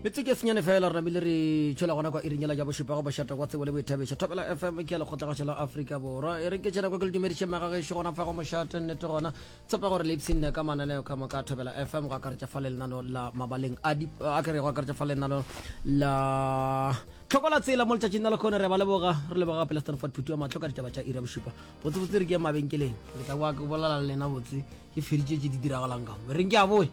Metsotso e senyane fela re namile re tšhela gona kwa iring yela ja bošupa go bošata kwa tsebo le boithabišo. Thobela FM ke ya lekgotlagašo la Afrika Borwa. E re ke tšena kwa ke le dumediše magagešo gona fa go mošate nnete gona. Tshepa gore le ipshinne ka mananeo ka moka a Thobela FM go akaretša fa lenano la mabaleng a di a kere go akaretša fa lenano la tlhoko la tsela mo letšatšing la lekgone re ba leboga re leboga gape le Stanford Phuti wa mahlo ka ditaba tša iri ya bošupa. Botsebotse re ke mabenkeleng re tla boa ke bolela le lena botse ke feditše tše di diragalang ka mo. Reng ke a boe.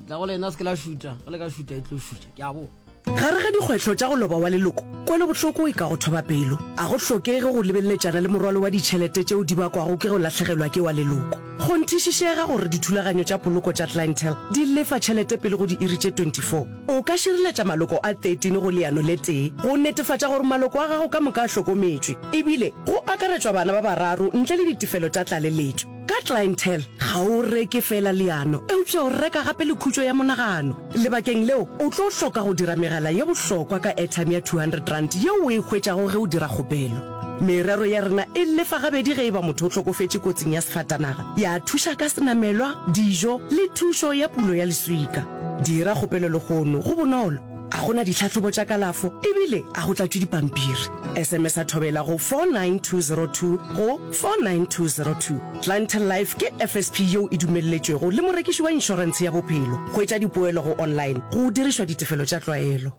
Tla go lena se ke la šutha, ge le ka šutha e tlo šutha. Ke a boa. Gare ga dikgwetlho tša go loba wa leloko, kwelobohloko e ka go thoba pelo. A go hlokege go lebeletšana le morwalo wa ditšhelete tšeo di bakwago ke go lahlegelwa ke wa leloko. Kgonthišišega gore dithulaganyo tša poloko tša Clientele di lefa tšhelete pele go diiri tše 24. O ka šireletša maloko a 13 go leano le tee go netefatša gore maloko a gago ka moka a hlokometšwe, ebile go akaretšwa bana ba bararo ntle le ditefelo tša tlaleletšo. Ka Clientele, ga o reke feela leano, eupša o reka gape le khutšo ya monagano. Lebakeng leo, o tlo hloka go dira megala ye bohlokwa ka airtime ya R200 yeo o e hwetšago ge o dira kgopelo. Merero ya rena e lefa gabedi ge e ba motho o hlokofetše kotsing ya sefatanaga, ya thuša ka senamelwa, dijo le thušo ya pulo ya leswika. Dira kgopelo lehono, go bonolo, ga go na ditlhahlobo tša kalafo ebile ga go tlatšwe dipampiri. SMS-a Thobela go 49202 go 49202. Clientele Life ke FSP yeo e dumelletšwego le morekiši wa inšorentshe ya bophelo. Hwetša dipoelo go online go dirišwa ditefelo tša tlwaelo.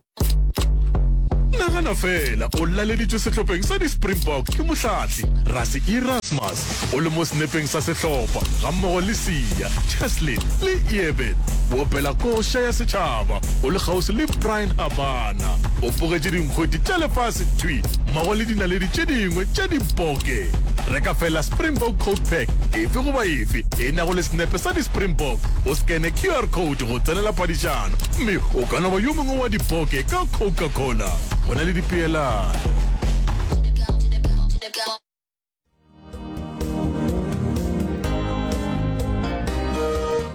Nagana feela o laleditšwe sehlopheng sa di-Springbok ke mohlahli Rassie Erasmus, o le mo senepeng sa sehlopha gammogo le Siya, Cheslin le Eben. O opela koša ya setšhaba o le kgauswi le Bryan Habana. O bogetše dinkgwete tša lefase thwi mmogo le dinaledi tše dingwe tša diboke. Reka feela Springbok Code Pack efe goba efe e nago le senepe sa di-Springbok, o skene QR code go tsenela phadišano mme o ka no ba yo mongwe wa diboke ka Coca-Cola. Go na le dipeelano.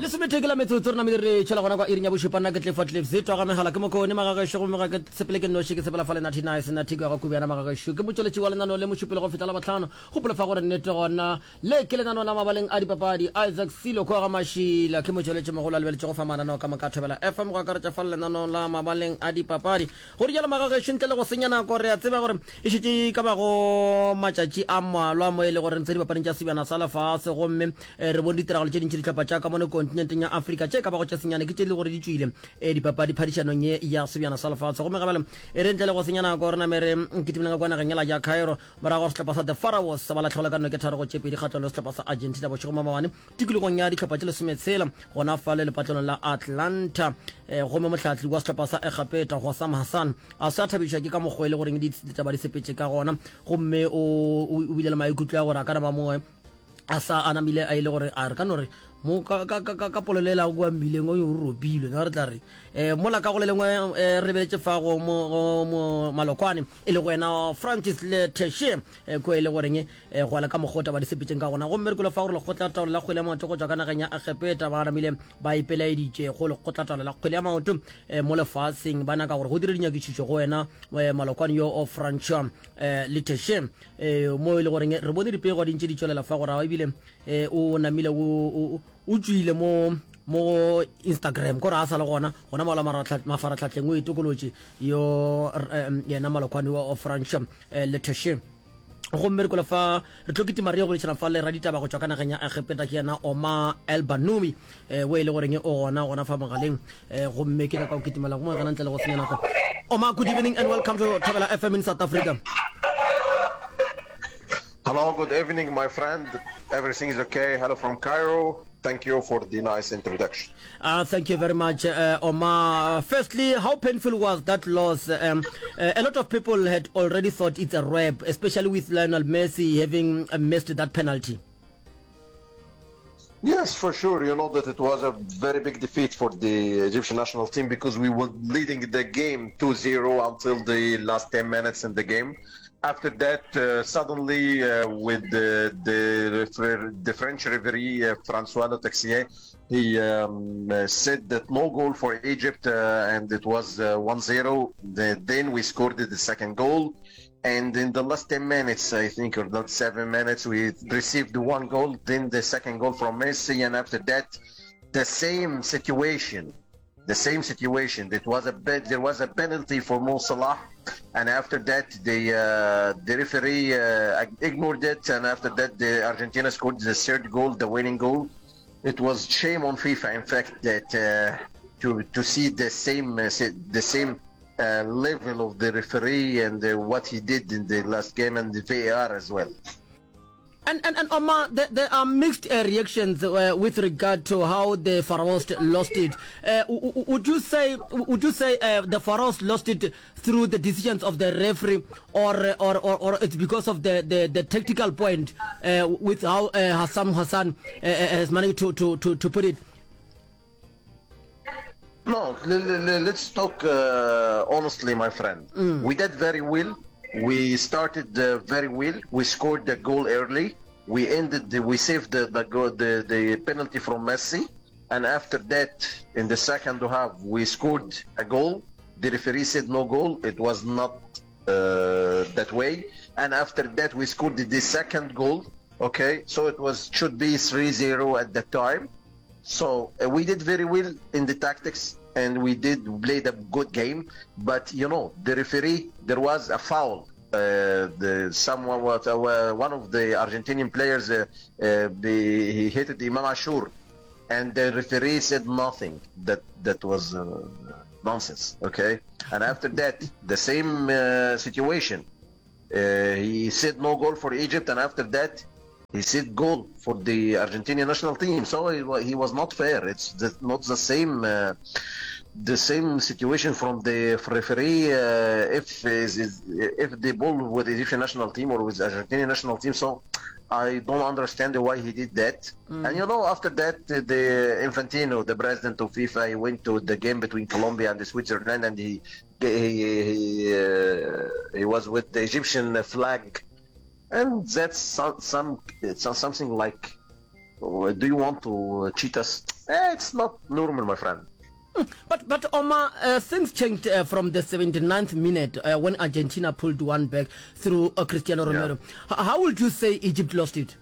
Lesometee ke la metsotso re namile re tšhela gona kwa iring ya bošupa. Nna ke Clifford Cliffs twa ga megala ke mokone magagešo gomme ga ke sepele ke nnoši ke sepela fa le Nathi Nice Nathi kwa ga Kubiana magagešo ke motšweletši wa lenano le mošupelo go fihla Labohlano. Gopola fa gore nnete gona le ke lenano la mabaleng a dipapadi. Isaac Silo kwa ga Mašila ke motšweletši mogolo a lebeletšego fa mananeo ka moka a Thobela FM go akaretša fa lenano la mabaleng a dipapadi. Go rialo magagešo, ntle le go senya nako, re a tseba gore e šetše e ka bago matšatši a mmalwa mo e le gore re ntse dipapading tša Sebjana sa Lefase, gomme re bone ditiragalo tše dintši dihlopha tša ka mono kontinenteng ya Afrika tše ka bago tše senyane ke tše e le gore di tšwile dipapadi phadišanong ye ya Sebjana sa Lefase. Gomme gabjale e re ntle le go senya nako re name re kitimele ka kwa nageng yela ya Cairo morago ga sehlopha sa The Pharaohs ba lahlegelwa ka noke 3-2 kgahlano le sehlopha sa Argentina bošego maabane tikologong ya dihlopha tše lesometshela gona fale lepatlelong la Atlanta. E, gomme mohlahli wa sehlopha sa Egepeta Hossam Hassan a se a thabišwa ke ka mokgwa e le goreng ditaba di sepetše ka gona, gomme o, o, o bile le maikutlo a gore a ka no ba mongwe a sa a namile a ile gore a re ka no re mo ka, ka, ka, ka, ka polelo e lago kua mmileng o o ropilwe na re tla re um mola ka go le lengwe um re lebeletše fa go mo, go mo malokwane e le go wena Francis le Teshe kua e le goreng E, go ya le ka mokgwa o taba di sepetšeng ka gona. Gomme re kwele fa gore lekgotlataolo la kgwele ya maoto go tšwa ka nageng ya Egepeta ba namile ba ipelaeditše go lekgotlataolo la kgwele ya maoto e, mo lefaseng, ba nyaka gore go dire dinyakišišo go wena e, malokwane yo o Francois e, Leteshe e, mo e le goreng re bone dipego di ntše di tšwelela fa gore ebile e, o namile o, o, o tšwile mo mo Instagram kore a sa le gona gona mola mafaratlhatlheng o itokolotše yo yena malokwane wa Francois Leteshe. Gomme re kwele fa re tlo kitima re ye go boledišana fa le raditaba go tšwa ka nageng ya Egepeta, ke yena Omar El Banumi, eh, o e le goreng o gona gona fa mogaleng, eh, gomme ke nyaka go kitimela go mo gana ntle le go senya nako. Omar, good evening and welcome to Thobela FM in South Africa. Hello, good evening, my friend. Everything is okay. Hello from Cairo. Thank you for the nice introduction. Uh, thank you very much, uh, Omar. Firstly, how painful was that loss? Um, uh, a lot of people had already thought it's a wrap, especially with Lionel Messi having uh, missed that penalty. Yes, for sure. You know that it was a very big defeat for the Egyptian national team because we were leading the game 2-0 until the last 10 minutes in the game. After that, uh, suddenly, uh, with the, the, the French referee, uh, Francois Letexier, he um, uh, said that no goal for Egypt, uh, and it was uh, 1-0. Then we scored the second goal. And in the last 10 minutes, I think, or not 7 minutes, we received one goal, then the second goal from Messi. And after that, the same situation. The same situation. It was a bit, there was a penalty for Mo Salah, and after that the uh, the referee uh, ignored it, and after that the Argentina scored the third goal, the winning goal. It was shame on FIFA, in fact, that uh, to to see the same uh, the same uh, level of the referee and uh, what he did in the last game and the VAR as well. And, and, and Omar, there, there are mixed uh, reactions uh, with regard to how the Pharaohs lost it. Uh, would you say, would you say uh, the Pharaohs lost it through the decisions of the referee, or, or, or, or it's because of the, the, the tactical point uh, with how uh, Hassan Hassan uh, uh has managed to, to, to, to put it? No, let's talk uh, honestly, my friend. Mm. We did very well. We started uh, very well. We scored the goal early. We ended. The, we saved the the, goal, the the penalty from Messi, and after that, in the second half, we scored a goal. The referee said no goal. It was not uh, that way. And after that, we scored the, the second goal. Okay, so it was should be 3-0 at that time. So uh, we did very well in the tactics and we did play a good game. But you know, the referee, there was a foul. Uh, the someone was uh, one of the Argentinian players. Uh, uh, the, he hit Imam Ashur, and the referee said nothing. That that was uh, nonsense. Okay, and after that, the same uh, situation. he said no goal for Egypt, and after that, he said goal for the Argentinian national team. So he, he was not fair. It's the, not the same uh, the same situation from the referee uh, if is, is, if the ball with the Egyptian national team or with Argentinian national team. So I don't understand why he did that. Mm. And you know, after that, the Infantino, the president of FIFA, he went to the game between Colombia and Switzerland, and he he he, uh, he was with the Egyptian flag and that's some, some it's something like, do you want to cheat us? Eh, it's not normal, my friend. Hmm. But, but Omar, uh, things changed uh, from the 79th minute uh, when Argentina pulled one back through uh, Cristiano Romero. Yeah. How would you say Egypt lost it?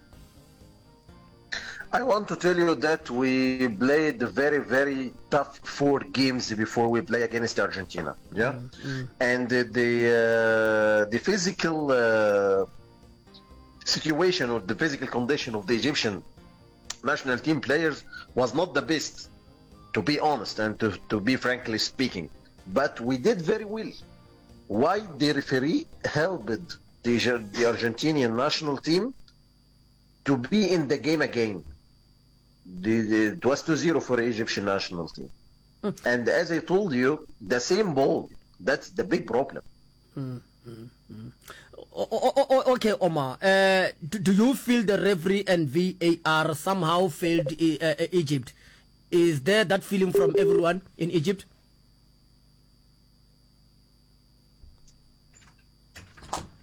I want to tell you that we played very, very tough four games before we play against Argentina. Yeah, mm -hmm. and the the, uh, the physical uh, situation or the physical condition of the Egyptian national team players was not the best, to be honest and to, to be frankly speaking. But we did very well. Why the referee helped the, the Argentinian national team to be in the game again? The, the, it was 2-0 for the Egyptian national team. Mm. And as I told you, the same ball. That's the big problem. Mm, mm, mm. Okay, Omar. Uh, do, do you feel the referee and VAR somehow failed uh, uh, Egypt? Is there that feeling from everyone in Egypt?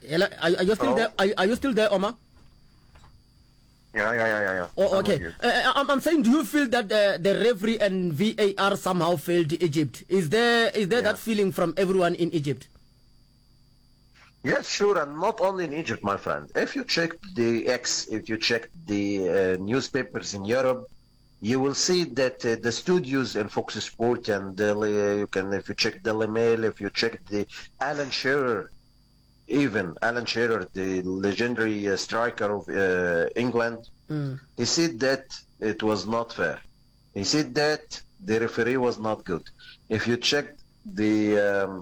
Hello, are, are you still Hello? there? Are, are you still there, Omar? Yeah, yeah, yeah, yeah. yeah. Oh, okay. Uh, uh, I'm, I'm saying, do you feel that uh, the referee and VAR somehow failed Egypt? Is there is there yeah. that feeling from everyone in Egypt? Yes, sure, and not only in Egypt, my friend. If you check the X, if you check the uh, newspapers in Europe, you will see that uh, the studios in Fox Sport and uh, you can, if you check Daily Mail, if you check the Alan Shearer, even Alan Shearer, the legendary uh, striker of uh, England, mm. he said that it was not fair. He said that the referee was not good. If you check the um,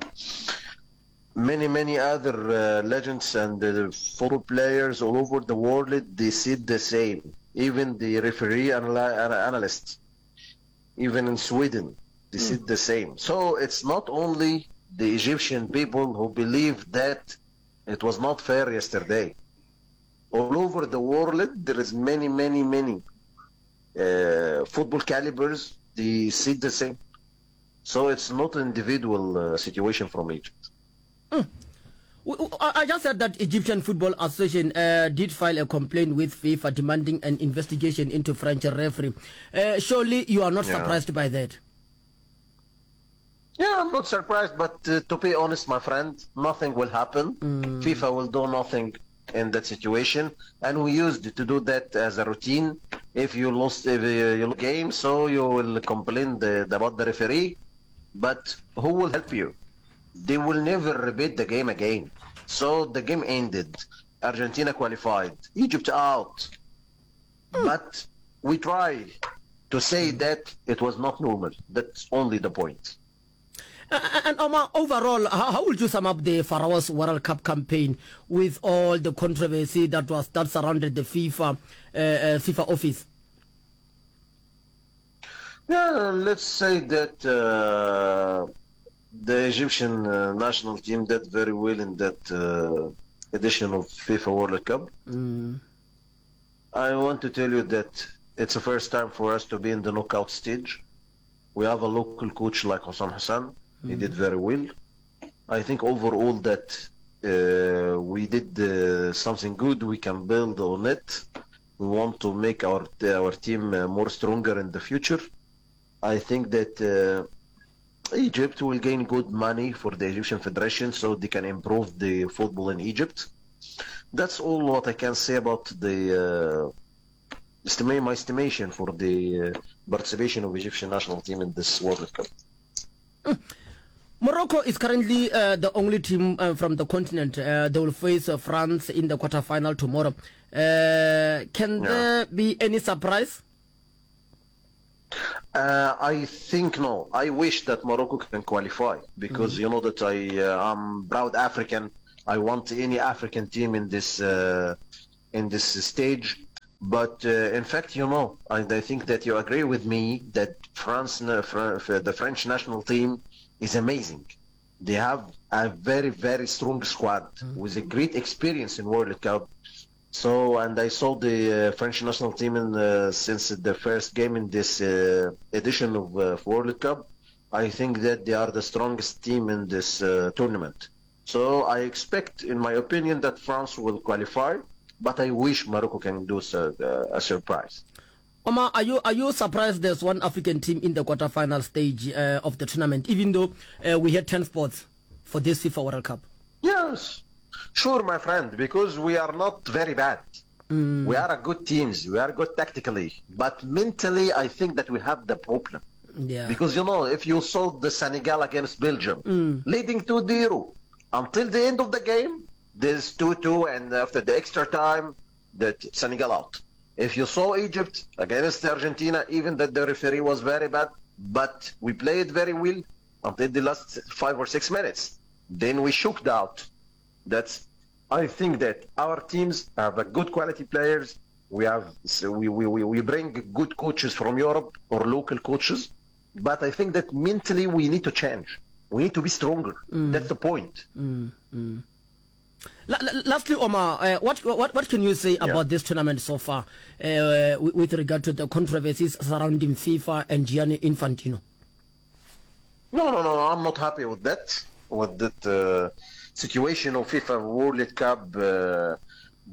many many other uh, legends and uh, football players all over the world, they said the same. Even the referee anal- analysts, even in Sweden, they mm. said the same. So it's not only the Egyptian people who believe that it was not fair yesterday. All over the world, there is many, many, many uh, football calibers. They see the same. So it's not an individual uh, situation from Egypt. Mm. I just said that Egyptian Football Association uh, did file a complaint with FIFA demanding an investigation into French referee. Uh, surely you are not yeah. surprised by that. Yeah, I'm not surprised, but uh, to be honest, my friend, nothing will happen. Mm. FIFA will do nothing in that situation, and we used to do that as a routine. If you lost if you game, so you will complain the, about the referee. But who will help you? They will never repeat the game again. So the game ended. Argentina qualified. Egypt out. But we try to say that it was not normal. That's only the point. And Omar, overall, how, how would you sum up the Pharaohs World Cup campaign with all the controversy that was that surrounded the FIFA uh, uh, FIFA office? Yeah, let's say that uh, the Egyptian uh, national team did very well in that uh, edition of FIFA World Cup. Mm. I want to tell you that it's the first time for us to be in the knockout stage. We have a local coach like Hossam Hassan. Mm. He did very well. I think overall that uh, we did uh, something good. We can build on it. We want to make our our team uh, more stronger in the future. I think that uh, Egypt will gain good money for the Egyptian Federation so they can improve the football in Egypt. That's all what I can say about the uh, estimate my estimation for the uh, participation of Egyptian national team in this World Cup. Morocco is currently uh, the only team uh, from the continent. Uh, they will face uh, France in the quarterfinal tomorrow. Uh, can yeah. there be any surprise? Uh, I think no. I wish that Morocco can qualify because mm. you know that I uh, am proud African. I want any African team in this uh, in this stage. But uh, in fact, you know, and I think that you agree with me that France, the French national team, is amazing. They have a very very strong squad mm. with a great experience in World Cup. So, and I saw the uh, French national team in, uh, since the first game in this uh, edition of uh, World Cup. I think that they are the strongest team in this uh, tournament. So I expect, in my opinion, that France will qualify, but I wish Morocco can do so, uh, a surprise. Omar, are you are you surprised there's one African team in the quarterfinal stage uh, of the tournament, even though uh, we had 10 spots for this FIFA World Cup? Yes, sure, my friend, because we are not very bad. Mm. We are a good teams. We are good tactically, but mentally, I think that we have the problem. Yeah. Because you know, if you saw the Senegal against Belgium, mm. leading 2-0 until the end of the game, there's 2-2, and after the extra time, that Senegal out. If you saw Egypt against Argentina, even that the referee was very bad, but we played very well until the last five or six minutes. Then we shook out. That's I think that our teams have a good quality players. We have so we, we, we, we bring good coaches from Europe or local coaches, but I think that mentally we need to change. We need to be stronger. Mm. That's the point. Mm, mm. Lastly, Omar, uh, what, what, what can you say yeah. about this tournament so far uh, with regard to the controversies surrounding FIFA and Gianni Infantino? No, no, no. I'm not happy with that. With that uh, situation of FIFA World Cup, uh,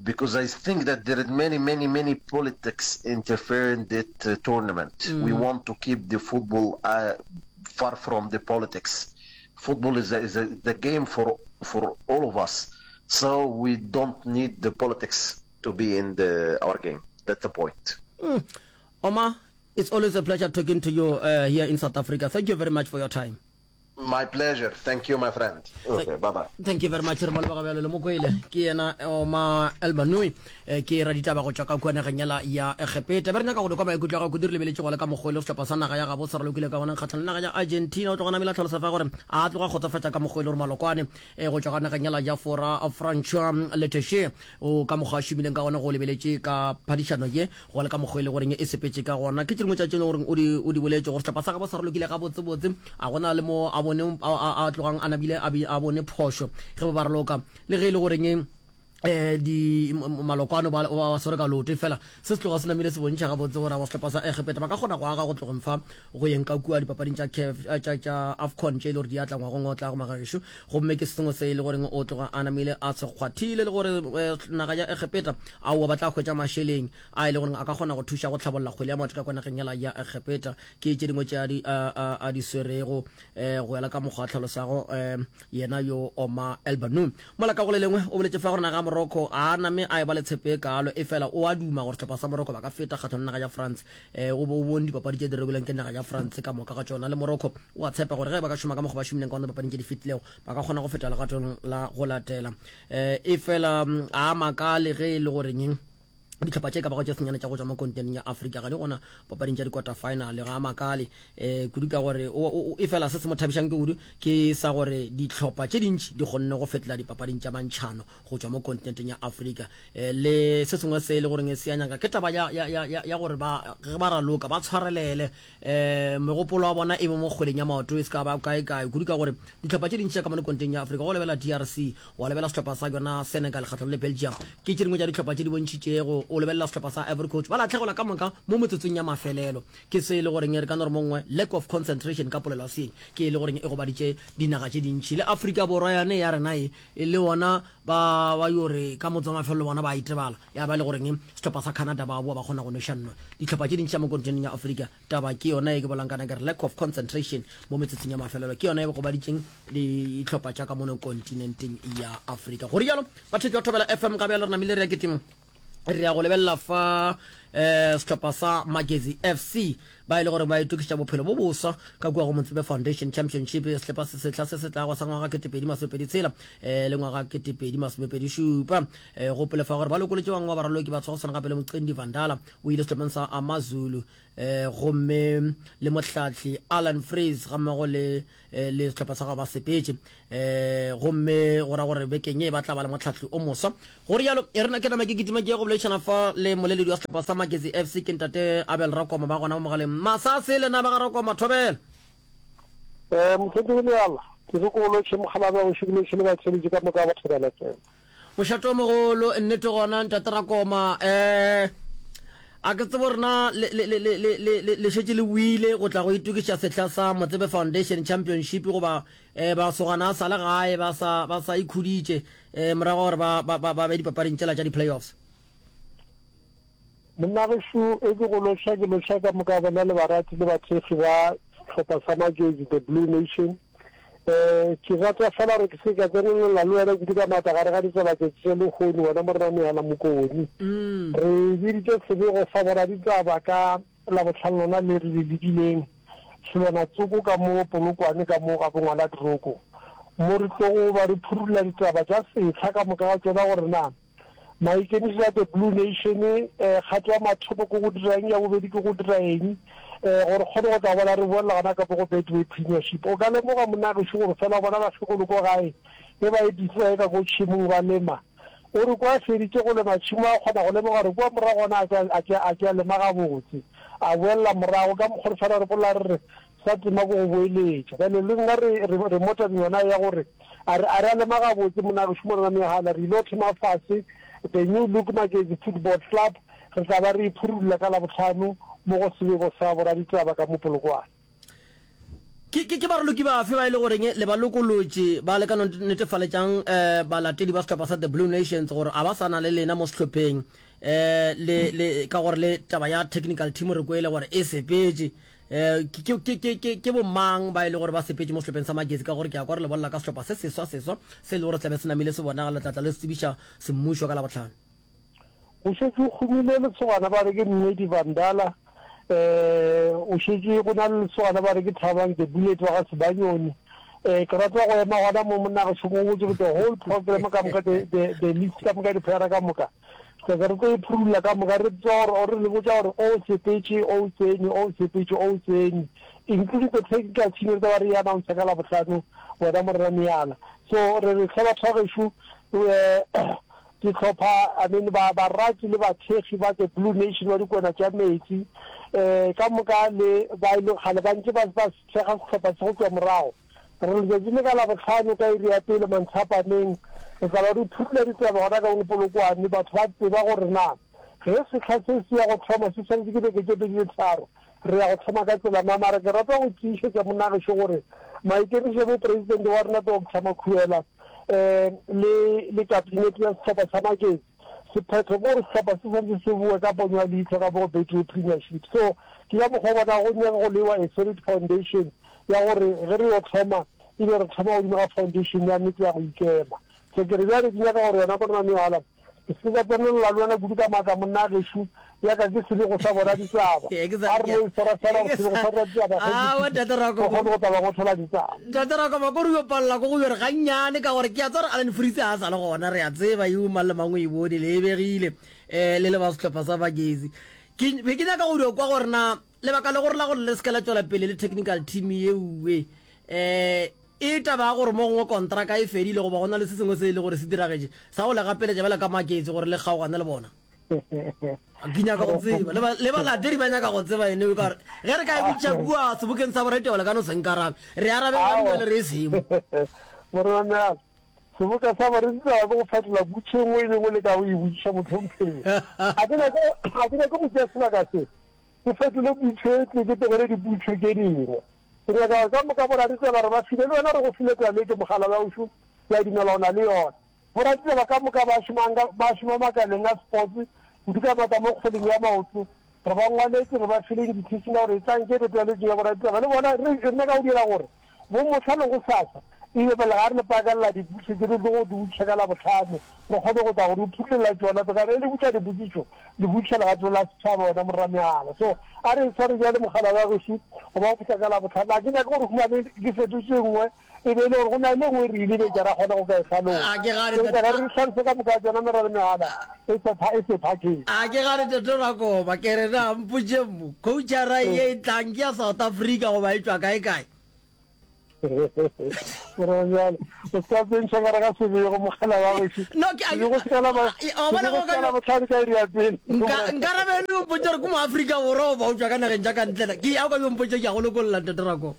because I think that there are many, many, many politics interfere in that uh, tournament. Mm. We want to keep the football uh, far from the politics. Football is a, is a, the game for for all of us. So we don't need the politics to be in the our game. That's the point. Mm. Omar, it's always a pleasure talking to you uh, here in South Africa. Thank you very much for your time. My pleasure. Thank you, my friend. Okay, bye bye. Thank you very much. Re mo leboga bjalo le mokwele. Ke yena Omar Elbanui eh, ke raditaba go tšwa ka kua nageng yela ya Egepeta. Be re nyaka go di kwa maikutlo a gago kudu re lebeletše go le ka mokgwa e le sehlopha sa naga ya gabo se ralokile ka gona kgatlhanong le naga ya Argentina. O tloga namile a hlalosa fa gore a tloga kgotsofatša ka mokgwa e le gore malokwane eh, go tšwa ka nageng yela ya Fora Francois Letexier o ka mokgwa a šomileng ka gona go lebeletše ka phadišano ye go le ka mokgwa e le goreng e sepetše ka gona. Ke tše dingwe tša tše e leng goreng o di, o di boletše gore sehlopha sa gabo sa ralokile gabotsebotse, a gona le mo a bone a, a, a tlogang a nabile a, be, a bone phošo ge ba ba raloka, le ge e le goreng eh di maloko ano ba ba swere ka loto fela se se tloga se namile se bontšha gabotse gore ba sehlopha sa Egepeta ba ka kgona go aga go tlogeng fa go yeng ka kua dipapading tša CAF eh, tša tša AFCON tše e le gore di atla ngwagong o tlago magagešo gomme ke se sengwe se e le goreng o tloga a namile a se kgwathile le gore eh, naga ya Egepeta aowa ba tla hwetša mašeleng a e le goreng a ka kgona go thuša go tlhabolla kgwele ya maoto ka kwa nageng yela ya Egepeta ke tše dingwe tše a di, a, a, a di swerego um go ela ka mokgwa a tlhalosago um yena yo Omar Elbanu mola ka go le lengwe o boletše fa gore naga ya. Morocco a name a eba le tshepo e kaalo, efela o a duma gore sehlopha sa Morocco ba ka feta kgahlano le naga ya France. Eh, o bo o bone dipapadi tše di rebilweng ke naga ya France ka moka ga tšona. Le Morocco o a tshepa gore ge ba ka šoma ka mokgwa ba šomileng ka gona dipapading tše di fetilego, ba ka kgona go feta legatong la go latela. Eh, efela a makale ge e le gore eng dihlopha tše ka bago tše senyane tša go tšwa mo kontinenteng ya Afrika ga di gona papading tša di-quarter final. Ga a makale um kudu ka gore e fela se se mo thabišang ke kudu ke sa gore dihlopha tše dintši di kgonne go fetela dipapading tša mantšhano go tšwa mo kontinenteng ya Afrika. Um le se sengwe se e le goreng se a nyaka ke taba ya, ya, ya, ya, ya gore ba ge ba raloka ba tshwarelele um megopolo ya bona e be mo kgweleng ya maoto e se ka ba kae-kae kudu ka gore dihlopha tše dintši tša ka mono kontinenteng ya Afrika go lebela DRC wa lebelela sehlopha sa yona Senegal kgahlano le Belgium ke tše dingwe tša dihlopha tše di bontšhitšego o lebelela sehlopha sa Ivory Coast ba lahlegelwa ka moka mo metsotsong ya mafelelo ke se e le goreng re ka no re mongwe lack of concentration ka polelo ya seeng ke e le goreng e gobaditše dinaga tše dintši le Afrika Borwa yane ya rena e le ona ba ba yo re ka motse wa mafelelo bona ba itebala ya ba le goreng sehlopha sa Canada ba boa ba kgona go nweša nno dihlopha tše dintši tša mo kontinenteng ya Afrika Taba ke yona ye ke bolang kana ke re lack of concentration mo metsotsong ya mafelelo ke yona e gobaditšeng dihlopha tša ka mono kontinenteng ya Afrika. Go rialo batheetši ba Thobela FM ga bjalo re namile re ya ketima re ya go lebelela fa eh sehlopha sa Magezi FC ba e le gore ba itokišetša bophelo bo boswa ka kua go Motsebe Foundation Championship sehlopha se sehla se se tlago sa ngwaga 2026 eh le ngwaga 2027 eh gopole fa gore ba lokolotše bangwe ba baraloki ba tshwasana gape le Moqendi Vandala o ile sehlopheng sa Amazulu eh, gomme le mohlahli Alan Freeze ga mmogo le eh, le sehlopha sa gagwe ba sepetše eh, gomme go ra gore bekeng ye ba tla ba le mohlahli o moswa go rialo e rena ke nama ke kitima ke ye go boledišana fa le moleledi wa sehlopha sa Magezi FC ke ntate Abel Rakoma ba gona mo mogaleng masase lena ba ga Rakoma thobela Eh, Mohlomphegi Leala, ke re ko lotšhe mokgalabje wa gešo, ke lotšhe le batheeletši ka moka ba Thobela FM. Mošate o mogolo, nnete gona, Ntate Rakoma. Eh, a ke tsebo rena le, le, le, le, le, le, le šetše le boile go tla go itokiša sehla sa Motsebe Foundation Championship goba eh, basogana a sa le gae ba sa, ba sa ikhuditše eh, morago gore ba, ba, ba, ba be dipapading tšela tša di-playoffs. Monna gešo e ke go loša ke loša ka moka bona le barati le bathekgi ba sehlopha sa Magezi The Blue Nation. Um ke rata fela gore ke se ka tsenelela le wena kudu ka maatla gare ga ditaba tšatši tša lehono wena Morena Mehala Mokoni. Re biditše sebego sa boraditaba ka Labohlano lona le re le lebileng selwana tsoko ka mo Polokwane ka mo ga bongwaladroko mo re tlogo ba re phurulla ditaba tša sehla ka moka ga tšona gore na Maikemišetšo a The Blue Nation, kgato ya mathomo ke go dira eng, ya bobedi ke go dira eng, gore re kgone go tla bona re boelela gona ka mo go Betway Premiership. O ka lemoga monna gešo gore fela o bona bakgekolo ko gae ge ba e busy ba ye ka ko tšhemong ba lema. O re kwa a feditše go lema tšhemo a kgona go lemoga gore kua morago gona a ke a ke a ke a lema gabotse. A boelela morago ka mokgwa re fela re bolela re re sa tema ke go boeletša. Bjale le nna re re re mo tabeng yona ya gore A re, a re a lema gabotse, monna gešo Morena Mehala, re ile thoma fase The New Look Magezi Football Club, re tla ba re e phurulla ka Labohlano mo go sebego sa boraditaba ka mo Polokwane. Ke, ke, ke baraloki bafe ba e le goreng le ba lokolotše ba le ka no netefaletšang um balatedi ba sehlopha sa The Blue Nations gore a ba sa na le lena mo sehlopheng um le, le, ka gore le taba ya technical team re kwele gore e sepetše Eh, ke, ke, ke, ke, ke, ke bomang ba e le gore ba sepetše mo sehlopheng sa Magezi? Ka gore ke a kwa re le bolela ka sehlopha se seswa seswa se e le gore tlabe se namile se bonagala, le tla tla le se tsebiša semmušo ka Labohlano. Go šetše go humile lesogana ba re ke Mmedi Vandala, eh, o šetše go na le lesogana ba re ke Thabang The Bullet wa ga Sebanyoni. Eh, ke rata go ema gona mo monna gešo ko botse the whole program ka moka, the, the, the list ka moka, di-player ka moka. Re re tlo e phurulla ka moka, re tseba gore, or re le botša gore o sepetše, o tsene, o sepetše, o tsene, including the technical team, re tla ba re e announce ka Labohlano, wena Morena Meala. So re re hle batho ba gešo, dihlopha, I mean ba barati le bathekgi ba the Blue Nation ba dikwena tša metsi, um ka moka le ba e leng kgale ba ntše ba ba thekga sehlopha se go tšwa morago. Re letšatši le ka Labohlano ka iri ya pele manthapameng, re tla ba re phurula ditaba gona ka Polokwane. Batho ba tseba gore na ge sehla se se ya go thoma se swanetše ke beke tše pedi le tharo, re ya go thoma ka tsela mang. Mara ke rata go tiišetša monna gešo gore maikemišetšo a Mopresidente wa rena Doctor Makhuela um le le kabinete ya sehlopha sa Magesi, Sephetho ke gore sehlopha se swanetše se boe ka ponyo ya leihlo ka mo go Betway Premiership. So ke ka mokgwa o bona go nyaka go lewa a solid foundation ya gore ge re yo thoma e be re thoma godimo ga foundation ya nnete ya go ikema. So ke re bjale ke nyaka gore wena monna Meala, ke se ke ka tsenelela le wena kudu ka maatla monna gešo, ya ka ke sebego sa bona ditaba. A re no e swara fela gore sebego sa ditaba ge ke kgone go tla ba ngothola ditaba. Ntate Rakoma, ko re yo palela ko go yo re gannyane ka gore ke a tseba gore Alan Fritz a sa le gona, re a tseba yo mang le mang o e bone, le e begile um le le ba sehlopha sa Magezi. Ke be ke nyaka go dio kwa gore na lebaka le gore la gore le se ke la tšwela pele le technical team yeuwe um E taba ya gore mo gongwe kontraka e fedile goba go na le se sengwe se e le gore se diragetše sa go le gapeletša bjalo ka maketše gore le kgaogane le bona. Ke nyaka go tseba le ba le balatedi ba nyaka go tseba ene ka gore ge re ka e botšiša kua sebokeng sa boraitaba le ka no se nkarabe. Re arabe gane bjale re e semo. Morena Meabe, seboka sa boraditaba ke go fetola potšišo e nngwe le e nngwe le ka go e botšiša mohlomphegi. Ga ke nyake ga ke nyake go tšea sebaka se ke fetole potšišo e tee ke tlogele dipotšišo tše dingwe. Ke nyaka gore ka moka boraditsela re ba file, le wena re go file taletšo, mogala wa gešo, ke a dumela o na le yona. Boraditsela ka moka ba šomang ka, ba šoma makaleng a sports, kudu ka maatla mo kgweleng ya maoto, re ba ngwaletše, re ba file invitation ya gore etlang ke taletšo ya boraditsela. Le bona re, re nyaka go dira gore bo mohla le gosasa e be pele ga re le pakelela dipotšišo tše re tlogo di botšiša ka Labohlano, re kgone go tla go di phutholla tšona. Ka ge le botša dipotšišo, le botšiša legatong la setšhaba, wena morra-mehala. So, a re e sware bjale mogala wa gešo, go ba go fihla ka Labohlano. A ke nyake gore humane ke fetotše e nngwe, e be e le gore go na le e nngwe re e lebetše, ra kgona go ka e hlalosa. A ke gane, Eupša ge re di hlalose ka moka tšona merra-mehala e se e se phakeng. A ke gane Tate Rakoba, ke re na mpotše mo, coachara ye e tlang ke ya South Africa goba e tšwa kae-kae? Morena bjale, o se ka tsentšha ka re ga sebego mogala wa gešo. No, ke a- Sebego se ka la ba- Eh, wa bona sebego go se ka ka- la bohlale ka iri ya pele. Nka nkarabele o mpotše gore ke mo Afrika Borwa goba o tšwa ka nageng tša ka ntle na. Ke ya o ka yo mpotše ke a go lokolla Ntate Rako.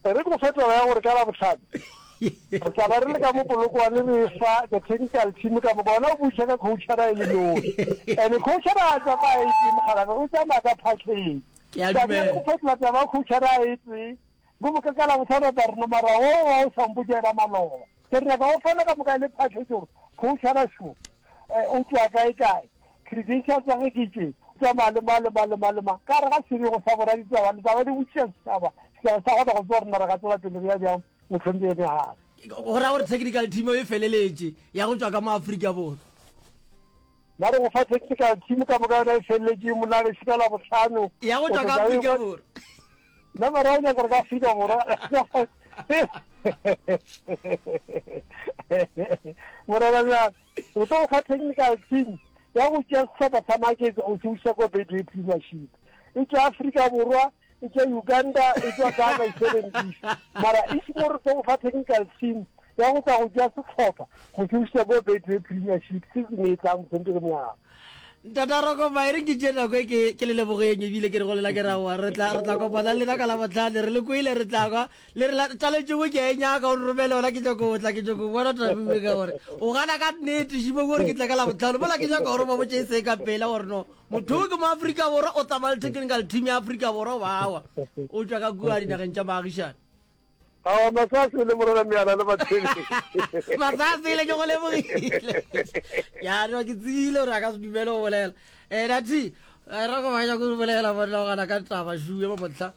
E re ke go fe taba ya gore ka Labohlano re tla ba re le ka mo Polokwane re fa the technical team ka moka. Wena o buša ka coachara e le nosi. And coachara a tsamaya e tee mogalabe, o tsamaya ka package. Ke a Taba ya dumela. go fetola taba ya coachara e tee Go moka ka Labohlano tla re no mara wo wa o sa mpotša yena maloba. Ke re nyaka go fana ka moka e le package gore coachara šo o tšwa kae kae, credentials tsa ge ke tše, o tsamaya le mang le mang le mang le mang. Ka gare ga sebego sa boraditaba le tla ba le botšiša setšhaba, setšhaba sa kgona go tseba gore na re ka tswela pele re ya bjang mohlomphegi Megare. Go ra gore technical team e feleletše ya go tšwa ka mo Afrika Borwa. Ba re go fa technical team ka moka yona e feleletše monna gešo ka Labohlano. Ya go tšwa ka Afrika Borwa. Nna mara o nyaka gore ka Afrika Borwa. Morena bjang, o tlo go fa technical team ya go tšea sehlopha sa Magesi go se buša ko Betway Premiership. E tšwa Afrika Borwa, e tšwa Uganda, e tšwa Ghana, e sebentisa. Mara e se gore tlo go fa technical team ya go tla go tšea sehlopha go se buša ko Betway Premiership season e tlang mohlomphegi Monyaka. Ntata Rokoma, e re ke tšee nako e ke ke le lebogeng ebile ke re go lela ke ra wa re tla re tla kopana le lena ka Labohlano re le kwele re tla kwa le re la taletšo nngwe ke a e nyaka o nromele yona ke nyako tla ke nyako bona Thabile ka gore o gana ka nnete šimo gore ke tla ka Labohlano mola ke nyaka gore ba botše e se ka pela gore no motho o ke mo Afrika Borwa o tsamaya le technical team ya Afrika Borwa bawa o tšwa ka kua dinageng tša baagišane. Aowa, Masasele, Morena Meala le Bathwele. Masasele, ke go lebogile. Ya no ke tsebile gore a ka se dumele go bolela. Eh Nathi, eh, ra go banya go bolela bona go gana ka taba shuwe mo motlha.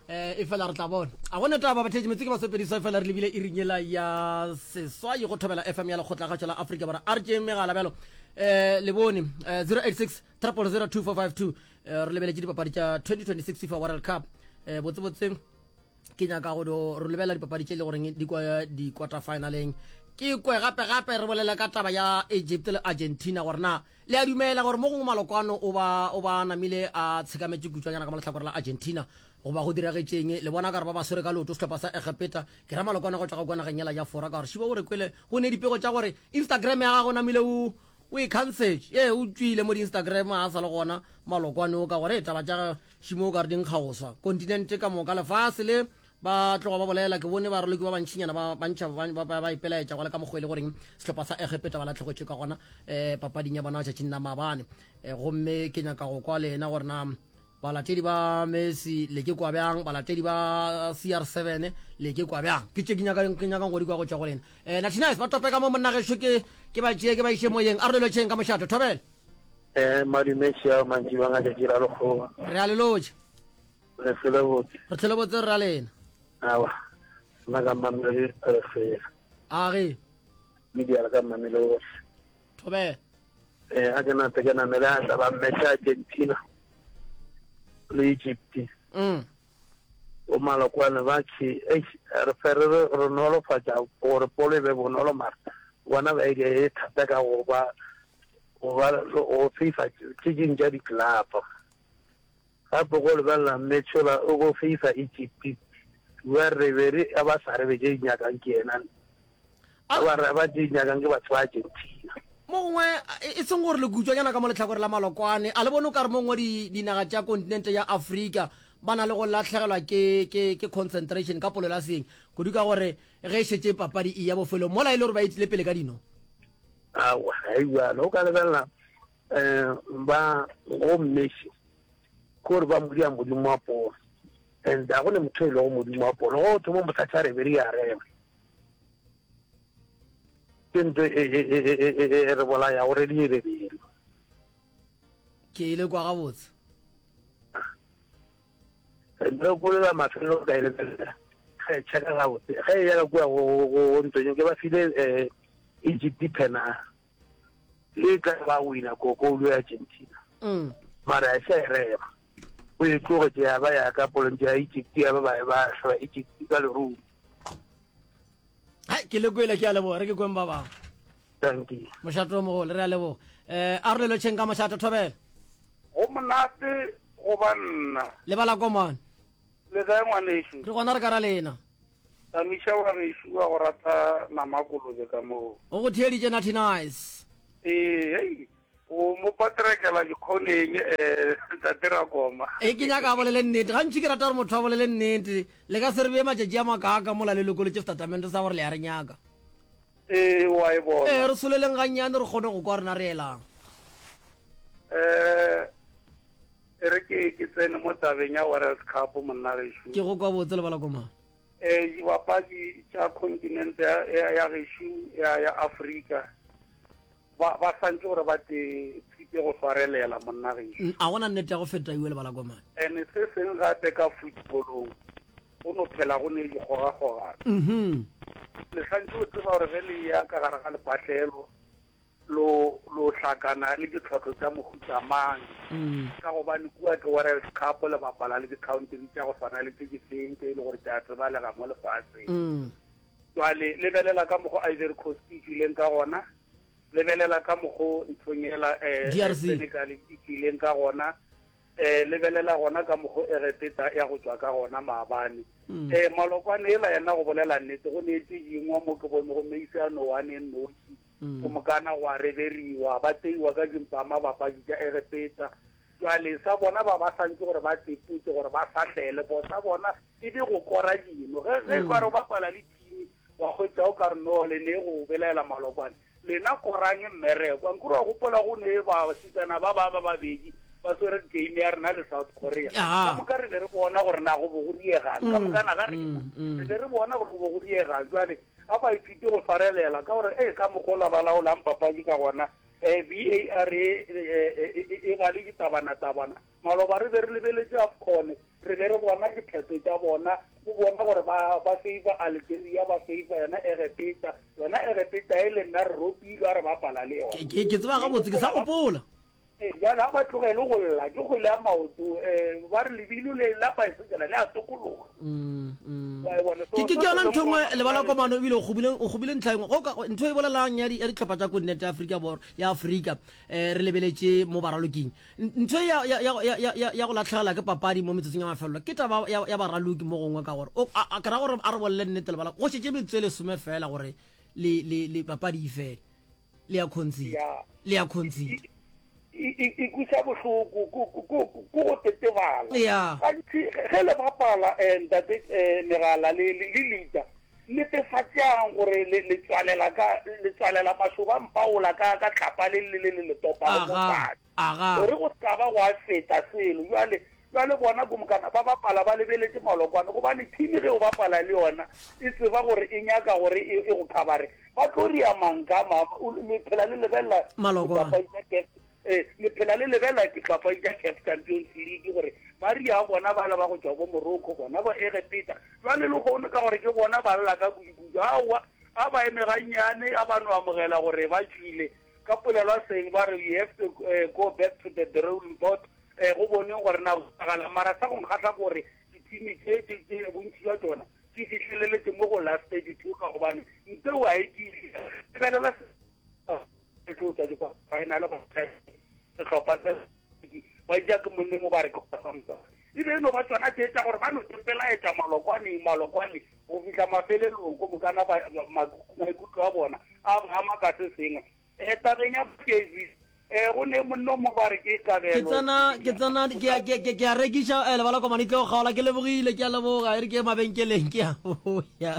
Eh e fela re tla bona. A gona taba batheetši metse ke basepedisa fela re lebile e ringela ya seswai go thobela FM ya lekgotla gašo la Afrika Borwa. A re tšeeng megala bjalo. Eh le bone eh, 086 000 2452 eh, re lebeletše dipapadi tša 2026 FIFA World Cup. Eh botse botse ke nyaka go do re lebelela dipapadi tše e le goreng di kwa di-quarter finaleng ke kwe gape gape re bolele ka taba ya Egypt le Argentina gore na le a dumela gore mo gongwe malokwano o ba o ba namile a tshekametše kutšwanyana ka mo lehlakore la Argentina goba go diragetšeng le bona ka re ba ba swere ka leoto sehlopha sa Egepeta ke ra malokwano go tšwa go kwa nageng yela ya Fora ka gore šiba o re kwele go ne dipego tša gore Instagram ya gago namile o o e cancelše ee o tšwile mo di-Instagram a sa le gona malokwane o ka gore taba tša Šimo o ka re di nkga go swa. Kontinente ka moka, lefase le, ba tloga ba bolela. Ke bone baraloki ba bantšinyana ba ba ntšha ba, ba, ba, ba ipelaetša go le ka mokgwa e le goreng sehlopha sa Egepeta ba lahlegetšwe ka gona eh, papading ya bona tšatšing la maabane. Eh, gomme ke nyaka go kwa lena gore na balatedi ba Messi le ke kwa bjang, balatedi ba CR7 le ke kwa bjang. Ke tše ke nyakang ke nyakang go di kwa go tšwa go lena. Eh, Nathinais ba tope ka mo monna gešo ke ke ba tšee ke ba iše moyeng. A re lotšheng ka mošato. Thobela. Eh, madume šia mantšibang a tšatši la lekgowa. Re a le lotša. Re hlole botse. Re hlole botse rra lena. Awa, nna ka Mamelodi re fela. A ge. Media la ka Mamelodi. Thobela. Eh, a ke nape ke namele a tla ba mmetša Argentina le Egypt. Mm. O malokwane ba khe, eish, re fe re re re nolofatša gore polo e be bonolo mara bona ba e e thata ka go ba go ba go FIFA tše ding tša di-club. Gape go lebelela Metsola o go FIFA Egypt ba re be re a ba sa re be tše di nyakang ke yena a ba re ba tše di nyakang ke batho ba Argentina. Mo gongwe e seng gore le kutšwanyana ka mo lehlakore la malokwane, a le bone o ka re mo gongwe di, dinaga tša kontinente ya Afrika ba na le go lahlegelwa ke, ke, ke concentration ka polelo ya seeng, kudu ka gore ge e šetše papadi e ya bofelong mola e le gore ba etile pele ka dino? Aowa, ga e bjalo. O ka lebelela um ba go Messi ke gore ba mo dira modimo wa pono and ga go ne motho e lego modimo wa pono go thoma mothatha re be re ya rema ke ntho e, e, e, e re bolaya gore di ebebele ke ile kwa gabotse re kolela mafelelo ka e lebelela ge checka gabotse ge e ya kua go ntonyeng ke ba file um Egypt phena e tla ba wina ko koulo ya Argentina mm. mara a se e rema o e tlogetše ya ba ya ka polong ya Egypt ya ba ba ba hlaba Egypt ka lerumo. Hai ke le kwele ke a leboga re ke kweng ba bangwe. Thank you. Mošato o mogolo re a leboga. Eh a re le lotšheng ka mošato thobela. Go monate go ba nna. Lebala komane. Le kae ngwanešu? Re gona re ka ra lena. Tamiša wa gešo wa go rata nama kolobe ka moo. O go theeditše Natty Nice. Ee, hei, o mo patrekela dikgoneng, eh, Ntate Rakoma. Ee, ke nyaka a bolele nnete. Gantši ke rata gore motho a bolele nnete. Le ka se re bee matšatši a makaaka mola le lokolotše setatamente sa gore le a re nyaka. Ee, wa e bona. Ee, re soleleng gannyane re kgone go kwa rena re elang. Eh, e re ke ke tsene mo tabeng ya World Cup monna gešo. Ke go kwa botse lebala koma. Eh, dibapadi tša kontinente ya, ya, ya gešo ya, ya Afrika ba, ba santse gore ba te tshipe go swarelela monna gešo. Mm, a gona nnete ya go feta iwe lebala komane. Ene se seng gape ka footballong go no phela go ne dikgogakgogano. Mhm. Le santse o tseba gore ge le ya ka gare ga lepatlelo lo lo hlakana le ditlhohlo tša mohuta mang mm. ka gobane kua ke World Cup le bapala le di-country tša go swana le tše di feng tše e le gore tša tsebalega mo lefaseng mm. jwale lebelela ka mokgo Ivory Coast e tšwileng ka gona lebelela ka mokgo nthong ela eh, Senegal e tšwileng ka gona um lebelela gona ka mokgo Egepeta ya go tšwa ka gona maabane um malokwane ela yena go bolela nnete go neetse dingwa mo ke bone go meise a nowane noši Mm. Go mokana gwa reberiwa, ba tseiwa ka dimpama bapadi tša Egepeta. Jwale sa bona ba ba santše gore ba teputse gore ba fahlele, bo sa bona e be go kora dino. Ge ge ka re o bapala le team wa hwetša o ka re no le ne go belaela malokwane. Lena korang mmereko. Ankere wa gopola go ne basetsana ba ba ba babedi ba swere game ya rena le South Korea. Ka moka re be re bona gore na go bo go diegang. Ka moka na ga re re be re bona gore go bo go diegang. Jwale A ba ithute go swarelela ka gore ee ka mokgwa ola ba laolang papadi ka gona um VAR e, e, e, e ba le ditabana-tabana. Maloba re be re lebeletše AFCON, re be re bona diphetho tša bona, o bona gore ba, ba favor Algeria, ba favor yona Egepeta. Yona Egepeta e le nna re ropilwe a re bapala le yona. Ke, ke, ke tseba gabotse, ke sa gopola. Ee, bjale ga ba tlogele go lla, ke kgwele ya maoto. Um ba re lebilo le la paesekela le a tokologa. Mm, mm. Wa e bona? So, Ke ke se ke yona se ntho e nngwe leng lebala gona komano ebile o kgobile o kgobile ntlha e nngwe. Go ka ntho e bolelang ya di ya dihlopha tša kontinente ya Afrika Borwa ya Afrika eh re lebeletše mo baraloking. N- Ntho e ya ya ya ya ya ya- ya go latlhegela ke papadi mo metsotsong ya mafelelo ke taba ya ya baraloki mo gongwe ka gore o a a- ke ra gore a re bolele nnete lebala go šetše metsotso e lesome fela gore le le le papadi e fele. Le ya concede. Ya. Le ya concede. E, e, e kwisa bohloko ko ko- ko- ko go tetebala. Ya. Gantši ge le bapala eh, ntate eh, megala le le le lita netefatšang gore le le tswalela ka le tswalela mašoba mpaola ka ka tlhapa le le le le le topago mo Aga. fatshe. Aga. Gore go se ka ba gwa feta selo. Jwale jwale bona komokana ba bapala ba lebeletše malokwane gobane team ge o bapala le yona e tseba gore e nyaka gore e, e go khabare ba tlo ria manka ma le phela le lebelela Malokwane. dipapadi tša CAF eh, le phela le lebelela dipapadi tša CAF Champions League gore ba ria bona bala ba go tšwa bo Morocco bona bo Egepeta jwale le kgone ka gore ke bona ba lla ka kudu-kudu aowa. A ba eme gannyane, a ba no amogela gore ba tšwile. Ka polelo ya seng ba re you have to go back to the drawing board go boneng gore na go diragalang. Mara sa go nkgahla ke gore dithimi tše, tše, tše bontši bja tšona di fihleleletše mo go last 32 ka gobane nteo a e tiile. Lebelela se tlo tšwa di-final sehlopha se ba ja ke monneng o ba re ke e be e no ba tsona tše tša gore ba no tepelaetša malokwaneng malokwane go fihla mafelelong go mokana maikutlo a bona a ama ka se sengwe um tabeng ya Kezi um go ne monno mo ba re ke kabelo ke tsena ke tsena ke a rekiša eh, lebala komane tlo kgaola ke lebogile ke a leboga e re ke mabenkeleng ke a boya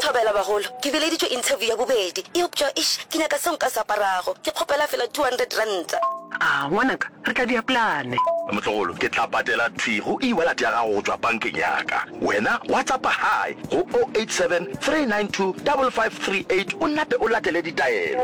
Thobela bagolo, ke bileditšwe interview ya bobedi, eupša eish, ke nyaka seo nka se aparago. Ke kgopela fela R200. A, ngwanaka, re tla dia plane. Motlogolo, ke tla patela thwi go e-wallet ya gago go tšwa bankeng ya ka. Wena WhatsAppa hi go 087 392 5538 o nape o latele ditaelo.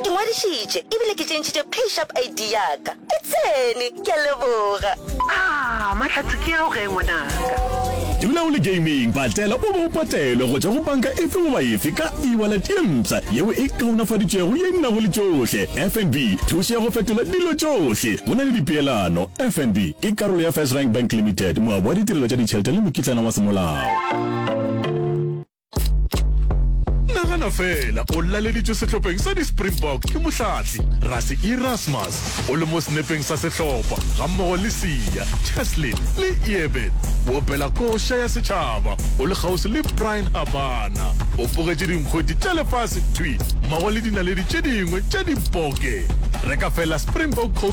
Ke ngwadišitše ebile ke tšentšhitše PayShap ID ya ka. E tsene! Ke a leboga. Ah, mahlatse ke ao ge ngwanaka. Dula o le gaming, patela o be o patelwe go tšwa go panka efe goba efe ka e-wallet ye mpsha yeo e kaonafaditšwego ye e nago le tšohle. FNB, thušo ya go fetola dilo tšohle. Go na le dipeelano. FNB ke karolo ya FirstRand Bank Limited, moabi wa ditirelo tša ditšhelete le mokitlana wa semolao. Nagana feela o laleditšwe sehlopheng sa di-Springbok ke mohlahli Rassie Erasmus o le mo senepeng sa sehlopha gammogo le Siya, Cheslin le Eben. O opela koša ya setšhaba o le kgauswi le Bryan Habana. O bogetše dinkgwete tša lefase thwi mmogo le dinaledi tše dingwe tša diboke. Reka feela Springbok Coke.